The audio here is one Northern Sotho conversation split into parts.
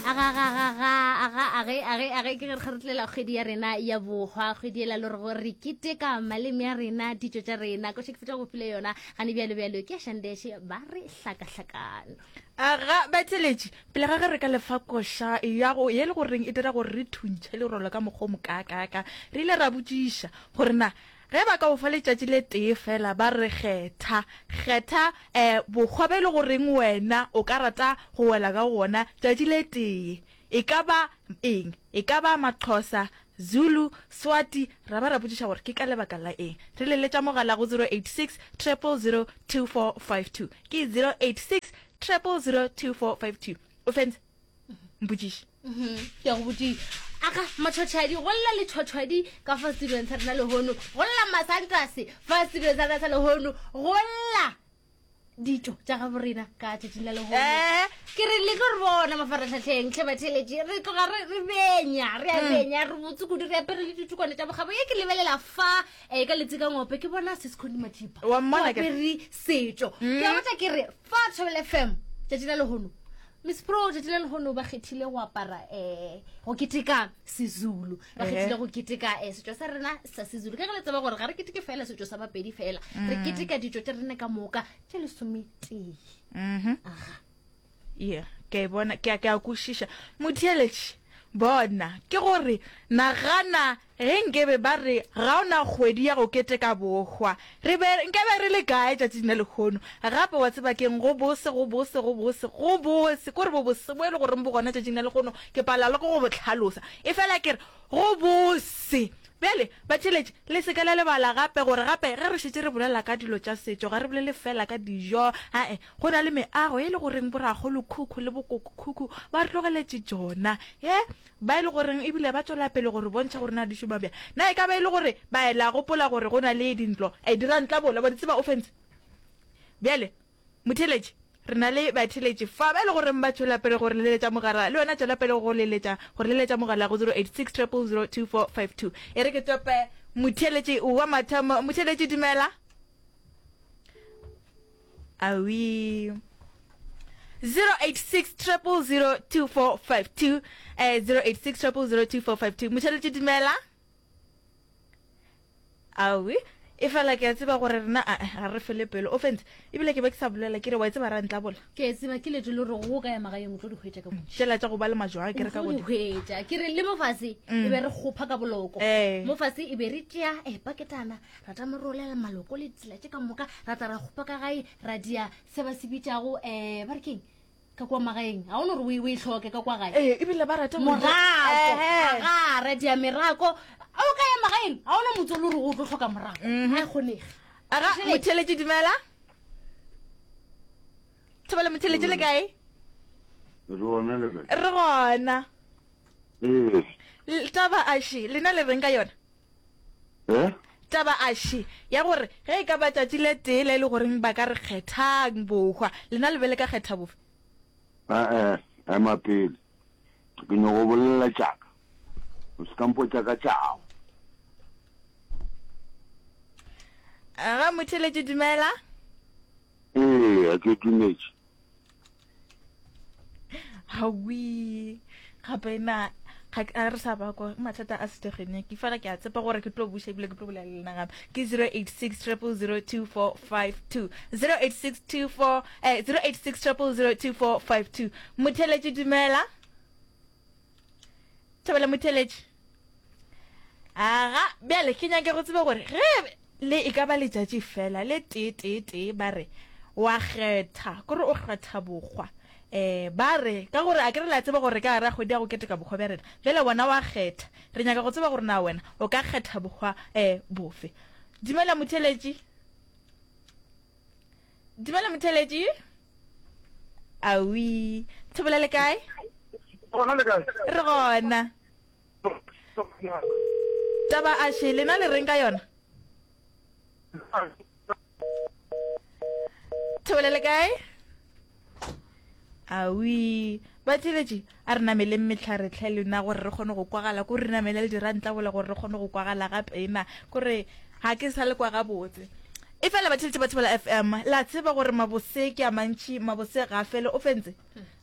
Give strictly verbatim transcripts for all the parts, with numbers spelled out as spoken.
Aga aga age age age ke re re tlela kgwedi ya rena ya bohwa, kgwedi ela le gore re keteka maleme a rena, ditšo tša rena. Ko ke fetša go file yona gane bjalo bjalo ke ya Shandeshe ba re hlakahlakano. Aga batheletši, pele ga ge re ka lefa koša ya go ye le goreng e dira gore re thuntšhe lerolo ka mokgwa o mokaakaka, re ile ra botšiša gore na ge ba ka o fa letšatši le tee fela ba re kgetha kgetha um bokgwa be e le goreng wena o ka rata go wela ka gona tšatši le tee, e ka ba eng? E ka ba Maxhosa, Zulu, Swati? Ra ba ra botšiša gore ke ka lebaka la eng. Re leletša mogala go zero eight six triple zero two four five two, ke zero eight six triple zero two four five two. O fentse mpotšiše. Ke a go botšiša. Aga matšhotšhadi, go lla letšhotšhadi ka fa studiong sa rena lehono, go lla masantase fa studiong sa rena sa lehono, go lla ditšo tša gabo rena ka tšatšing la lehono. Eh. Ke re le tlo re bona mafaratlhatlheng tlhe batheletše, re tloga re re benya, re a benya, re botse kudu, re apere le ditukwane tša bokgabo. Ye ke lebelela fa eh, ka letsi ka ngope ke bona Seskhoni Mathipa Wa mmona o ke- apere setšo. Ke a botša ke re fa Thobela F M tšatši la lehono, Miss Pro tšatši la lehono ba kgethile go apara eh go keteka Sezulu, ba Ehe. kgethile go keteka eh setšo sa rena sa Sezulu. Ka ge le tseba gore ga re keteke fela setšo sa Bapedi fela, re keteka ditšo tša rena ka moka tše lesometee. Mhm. Aga. Yeah, ke a e bona, ke a, ke a kwešiša. Motheeletši, bona, ke gore nagana ge nkebe ba re ga o na kgwedi ya go keteka bohwa, re be nkabe re le kae tšatšing la lehono? Gape wa tseba keng, go bose, go bose, go bose, go bose, kore bo bose bo e le goreng bo gona tšatšing la lehono, ke palelwa le ke go bo hlalosa. Efela ke re go bose. Bjale, batheeletši, le se ke la lebala gape gore gape ge re šetše re bolela ka dilo tša setšo, ga re bolele fela ka dijo, ae, go na le meago e le goreng borakgolokhukhu le bokokokhukhu ba re tlogeletše tšona, ye, ba e le goreng ebile ba tšwela pele go re bontšha gore na di šoma bjang. Na e ka ba e le gore ba la gopola gore go na le dintlo, e, dirantlabola, wa di tseba offense? Bjale, motheeletši, re na le batheeletši fa ba e le goreng ba tšwela pele go re leletša mogala, le wena tšwela pele go leletša, go re leletša mogala go zero eight six triple zero two four five two. E re ke tope motheeletši wa mathomo. Motheeletši, dumela. Awi. zero eight six triple zero two four five two, eh, zero eight six triple zero two four five two. Motheeletši, dumela. Awi. E fela ke a tseba gore rena, a, ga re fele pelo. Offense, ebile ke be ke sa bolela ke re wa e tseba rantlabola. Ke e tseba ke leetšo le gore go ka ya magaeng o tlo di hwetša ka bontši. Tšela tša go ba le majwang ke re ka O tlo di godimo. hwetša. Ke re le mo fase e be re kgopha ka boloko. Eh. Mo fase e be re tšea, eh, paketana, ra tla rolela maloko le tsela tše ka moka, ra tla ra kgopha ka gae, ra dia se ba se bitšago, eh, ba re keng? Ka kwa magaeng. Ga o no re o e, o e hloke ka kwa gae. Eh, ebile ba rata go Morako. Eh, eh. Aga, ra dia merako. A o ka ya magaeng, ga ona motse o le gore o tlo hloka morako. Mhm. Ga e kgonege. Aga, Motheeletši. motheeletši, dumela. Thobela, motheeletši, le kae? Re gona le kae? Re gona. Ee. L-, taba aše, lena le reng ka yona? Eh? Taba aše ya gore ge e ka ba tšatši le tee le e le goreng ba ka re kgethang bohwa, lena le be le ka kgetha bofe? Eh, eh, ema pele. Ke nyoko bolela tšaka. O se ka mpotša ka tšago. Aga, motheeletši, dumela. Ee, a ke dumetše. Hawi, gape na ga ke, a re sa ba kwa mathata a setegeniki, fela ke a tshepa gore ke tlo buša ebile ke tlo bolela le lena gape. Ke zero eight six triple zero two four five two, zero eight six two four, eh, zero eight six triple zero two four five two. Motheeletši, dumela. Thobela, motheeletši. Aga, bjale ke nyake go tseba gore ge le e ka ba letšatši fela le tee tee tee ba re wa kgetha, kore o kgetha bokgwa. Eh, ba re ka gore a ke re la tseba gore ka gare ga kgwedi ya go keteka bokgwa bja rena, bjale wena wa kgetha. Re nyaka go tseba gore na wena o ka kgetha bokgwa, eh, bofe. Dumela motheeletši. Dumela motheeletši. Awi, Thobela le kae? Gona le kae? Re gona. Taba aše, lena le reng ka yona? Thobela le kae? Awi, batheeletši, a re nameleng mehlare hle lena gore re kgone go kwagala, ko re namele le dirantlabola gore re kgone go kwagala gape na, kore ga ke sa le kwa gabotse. E fela batheeletši ba Thobela F M, la tseba gore mabose ke a mantši, mabose ga a fele. O fentse?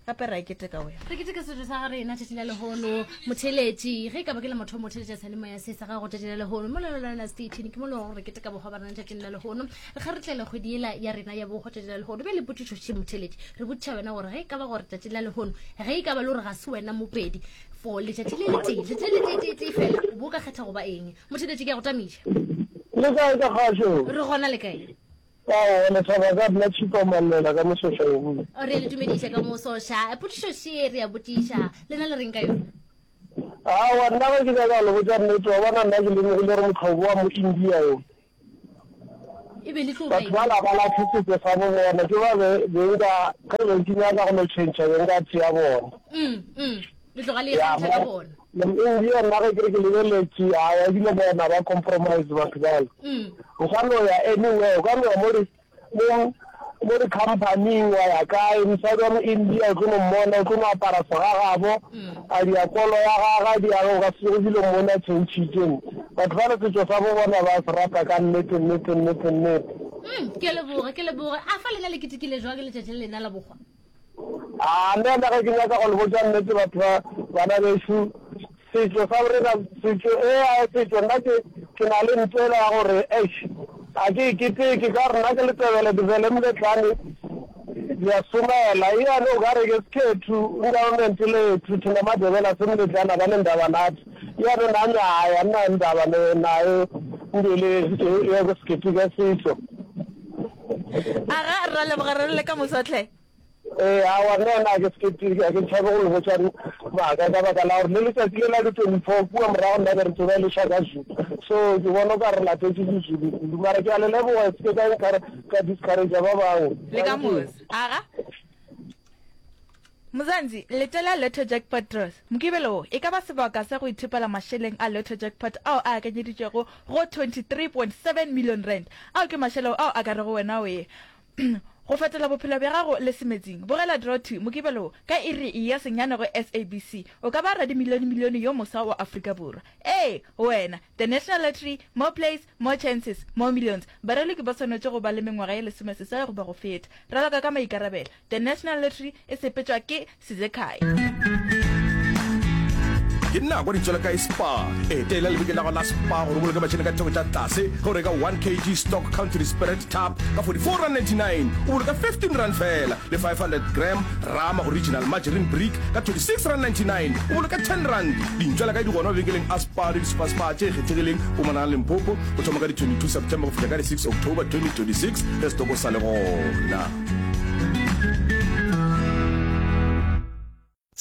Gape ra e keteka wena. Re keteka setšo sa rena tšatši la lehono. Motheeletši, ge e ka ba ke la mathomo o theeletša seyalemoya se sa gago tšatši la lehono, mo Lelolwana Station ke mo le gore re keteka bohwa ba rena tšatšing la lehono. Re kgaretlela kgwedi yela ya rena ya bohwa tšatši la lehono. Bjale potšišo še motheeletši, re botšiša wena gore ge e ka ba gore tšatši la lehono, ge e ka ba le gore ga se wena Mopedi for letšatši le letee, letšatši le letee-tee fela, o bo o ka kgetha go ba eng? Motheeletši, ke a go tamiša. Le kae ka kgašo? Re gona le kae? Aowa, lethaba ka nna Tšhipa Mallela ka Mosoša Yobule. Re a le dumediša ka Mosoša. Potšišo še re a botšiša, lena le reng ka yona? Aowa, nna ge ke nyaka go le botša nnete, wa bona nna ke lemogile gore mohlobo wa mo-India yo, E be le tlo ba batho eng? bala ba lahle setšo sa bo bona, ke ba be be nka, ge be ke nyaka go no tšhentšha be nka tšea bona. Mm, mm. Le tloga le Ya, ikgantšha ka mara bona. mo-India nna ge ke re ke lebeletše, aowa ebile bona ba compromise batho bale. Mm. O ka no ya anywhere, o ka no ya mo di, mo, mo di-company-ing, wa ya kae, mosadi wa mo-India o tlo no mmona, o tlo no apara segagabo, a dia kolo ya gagwe, a dia, o ka se tsoge ebile o mmone a tšhentšhitše. Batho bale setšo sa bo bona ba se rata ka nnete, nnete, nnete, nnete. Mm, ke a leboga, ke leboga. A fa lena le ketekile jwang letšatši le lena la bohwa? A nna nna ge ke nyaka go le botša nnete batho ba bana bešo, setšo sa borena, setšo, ea setšo, nna ke, ke na le ntho ela ya gore, eish, a ke e keteke, ka gore nna ke Letebele, Dibele Moletlane, di a somela, eane o ka re ke sekhethu, government lethu, thina Madebele a se Moletlane, a ba ne ndaba nathi, eane nami hai, a nna ndaba ne nayo ntho ele ya go se keteka setšo. Aga, ra leboga re le ka moso hle. Ee, aowa, nna ena ga ke se ke, ga ke tšhabe go le botša maaka, ka baka la gore le letšatši le la di twenty-four kua morago nna be re tseba e le Shaka Zulu, so ke bona o ka re re latetše Sezulu kudu, mara ke a le leboga, se ke ka encourage, ka discourage-a ba bangwe. Le ka Thank you. moso. Aga. Mzansi, letela Lotto Jackpot Draws. Mokibelo wo e ka ba sebaka sa go ithopela mašeleng a Lotto Jackpot ao a akanyeditšwego go twenty-three point seven million rand. Ao ke mašeleo ao a ka rego wena o ye go fetola bophelo bja gago le semetsing. Bogela Draw Two Mokibelo wo ka iri ya senyane go S A B C. O ka ba radimilionemilione yo moswa wa Afrika Borwa. Ee, wena! The National Lottery, more plays, more chances, more millions. Baraloki ba swanetše go ba le mengwaga ye lesomeseswai goba go feta. Raloka ka maikarabelo. The National Lottery e sepetšwa ke Sizekhaya. Ke nako di tšwela kae Spar? Etela lebenkele la gago la Spar gore o boloke mašeleng ka theko tša tlase ge o reka one kg stock country spirit tub ka forty-four rand ninety-nine, o boloka fifteen rand feela, le five hundred gram Rama original margarine brick ka twenty-six rand ninety-nine, o boloka ten rand. Dintšwela kae di gona mabenkeleng a Spar le di-Super-Spar tše kgethegileng Mpumalanga Limpopo go thoma ka di twenty-two September go fihla ka di six October twenty twenty-six ge setoko sa le gona.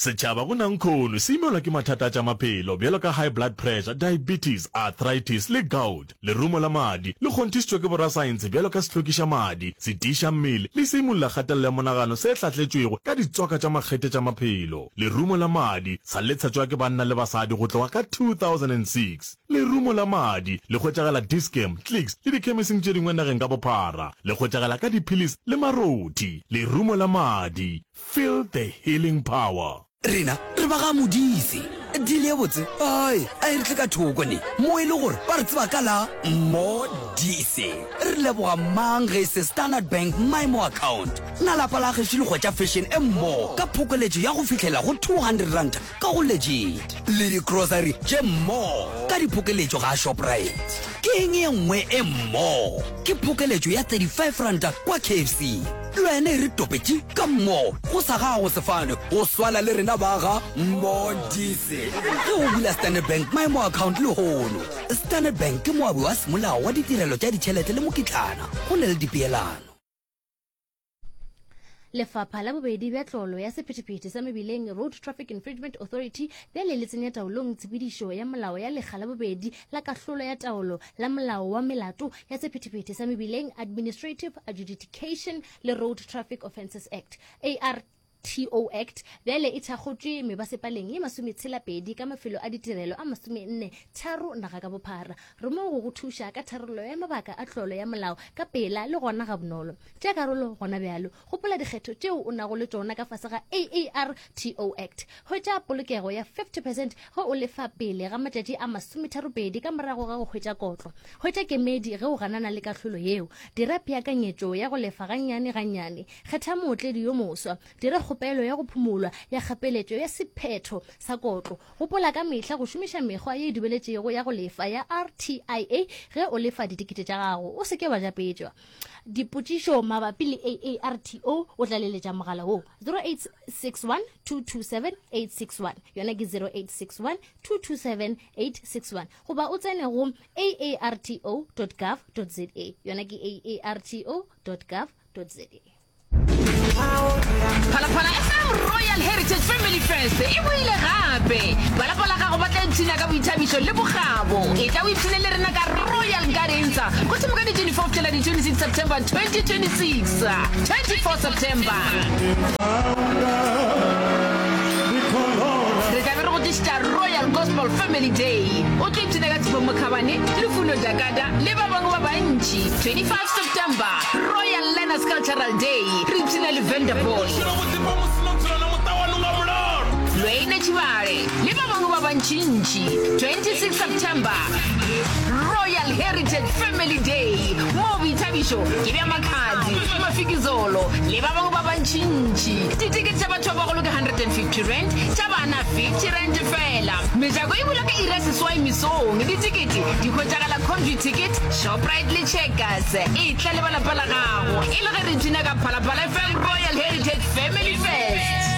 Setšhaba go nankhono se imelwa ke mathata a tša maphelo bjalo ka high blood pressure, diabetes, arthritis le gout. Lerumo la madi le kgonthišitšwe ke borasaense bjalo ka sehlokiša madi, setiiša mmele le seimolla kgatelelo ya monagano se hlahletšwego ka ditswaka tša makgethe tša maphelo. Lerumo la madi sa le tshetšwa ke banna le basadi go tloga ka two thousand and six. Lerumo la madi le hwetšagala Dis-Chem, Clicks le dikhemising tše dingwe nageng ka bophara. Le hwetšagala ka diphilisi le marothi. Lerumo la madi. Feel the healing power. Rena re ba ga Modise. Deal ye botse ai a e re tle ka thoko ne mo e le gore ba re tseba ka la Modise. Re leboga mang ge e se Standard Bank Maemo Account. Na lapa la gešo le hwetša fashion e mmo ka phokoletšo ya go fihlela go two hundred rand ka go Legit le di-grocery tše mmo ka diphokeletšo ga Shoprite. Ke eng ye nngwe e mmo? Ke phokeletšo ya thirty-five rand kwa K F C. Le wena e re topetše ka mmo go sa gago sefane go swana le rena ba ga Modise. Ge o bula Standard Bank Maemo Account lehono, Standard Bank ke moabi wa semolao wa ditirelo tša ditšhelete le mokitlana go na le dipeelano. Lefapha la bobedi bja tlolo ya sephethephethe sa mebileng Road Traffic Infringement Authority bjale le tsenya taolong tshepedišo ya molao ya lekga la bobedi la kahlolo ya taolo la molao wa melato ya sephethephethe sa mebileng Administrative Adjudication le Road Traffic Offences Act A R T O Act bjale e thakgotšwe mebasepaleng ye masometshela-pedi ka mafelo a ditirelo a masomenne tharo naga ka bophara. Re mo go go thuša ka tharollo ya mabaka a tlolo ya molao ka pela le gona gabonolo. Tšea karolo gona bjalo. Gopola dikgetho tšeo o nago le tšona ka fase ga A A R T O Act. Hwetša polokego ya fifty percent ge o lefa pele ga matšatši a masometharopedi ka morago ga go hwetša kotlo. Hwetša kemedi ge o ganana le kahlolo yeo. Dira peakanyetšo ya go lefa gannyane gannyane. Kgetha mootledi yo moswa. Dira kgopelo ya go phumolwa ya kgapeletšo ya sephetho sa kotlo. Gopola ka mehla go šomiša mekgwa ye e dumeletšego ya go lefa ya R T I A ge o lefa ditekete tša gago. O se ke wa japetšwa. Dipotšišo mabapi le A A R T O o tla leletša mogala wo zero eight six one, two two seven, eight six one, yona ke zero eight six one, two two seven, eight six one, goba o tsene go aarto dot gov dot za, yona ke aarto dot gov dot za. Phalaphala F M Royal Heritage Family Fest e boile gape. Ba lapa la gago ba tla ipshina ka boithabišo le bokgabo. Etla o ipshine le rena ka Royal Gardens go thoma ka di twenty-four fihlela di twenty-six September twenty twenty-six. twenty-four September. Re tla be re go tlišetša Royal Gospel Family Day. O tlo ipshina ka Tshepo Mokhabane, Lufuno Dakada le ba bangwe ba bantši. twenty-five September, Royal Learners Cultural Day. Re ipshina le Vanderpool. Lweine Tšhibale le ba bangwe ba bantšintši. twenty-six September, Royal Heritage Family Day. Mo boithabišo ke bja Makhadzi, Mafikizolo le ba bangwe ba bantšintši. Ditekete tša batho ba bagolo ke hundred and fifty rand, tša bana fifty rand fela. Mejako e bula ka iri ya seswai mesong. Ditekete di hwetšagala Computicket, Shoprite le Checkers. Etla le ba lapa la gago e le ge re ipshina ka Phalaphala F M Royal Heritage Family Fest.